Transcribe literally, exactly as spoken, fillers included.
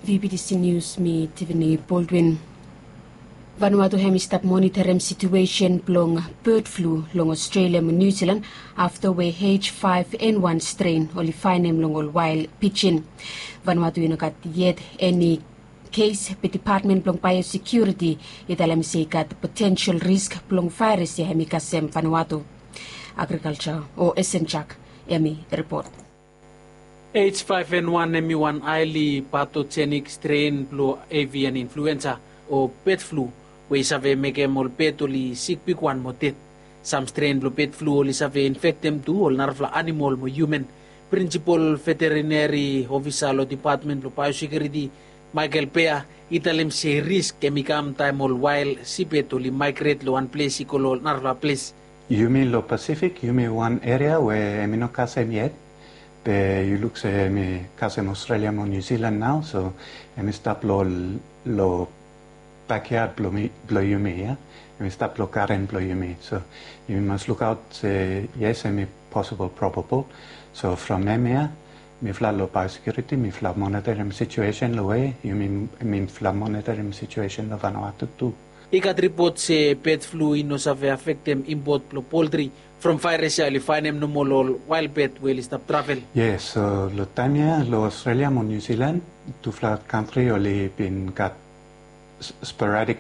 Vbtc News, mi Tiffany Baldwin. Vanuatu hem i stap monitorim situesen blong bird flu long Australia mo New Zealand afta we H five N one strain oli faenem long ol wael pijin. Vanuatu i no gat yet eni kes, be Department blong Biosecurity i talem se i gat potential risk blong vaeras ya hem i kasem Vanuatu. Agrikalja o Esen Jak hem i ripot. H five N one hem i wan highly pathogenic strain blong avian influenza o bird flu, we i save mekem ol pet oli sik bigwan mo ded. Sam strain blong bird flu oli save infektem tu ol narafala anamol mo human. Prinsipol veterineri ofisa long Department blong Biosecurity, Michael Beyer, i talem se risk hem i kam taem ol wael sipet oli maegret long wan ples i go long ol narafala ples. Yumi long Pasifik, yumi wan eria we hem i no kasem yet. Be yu luk se hem i kasem Australia mo New Zealand nao, so hem i stap long, long bakyad blong yumi ya. Hem i stap long garen blong yumi. So yumi mas lukaot se yes, hem i posibol probabol. So from hemia mifala long Biosecurity mifala monitorim situesen long we yumi, mifala monitorim situesen long Vanuatu tu. I gat ripot se bird flu i no save afektem impot blong poltri from vaeras ya oli faenem nomo long ol wael pet we oli stap travel. Yes, so long taem ya long Australia mo New Zealand, tufala kantri oli bin gat sporadik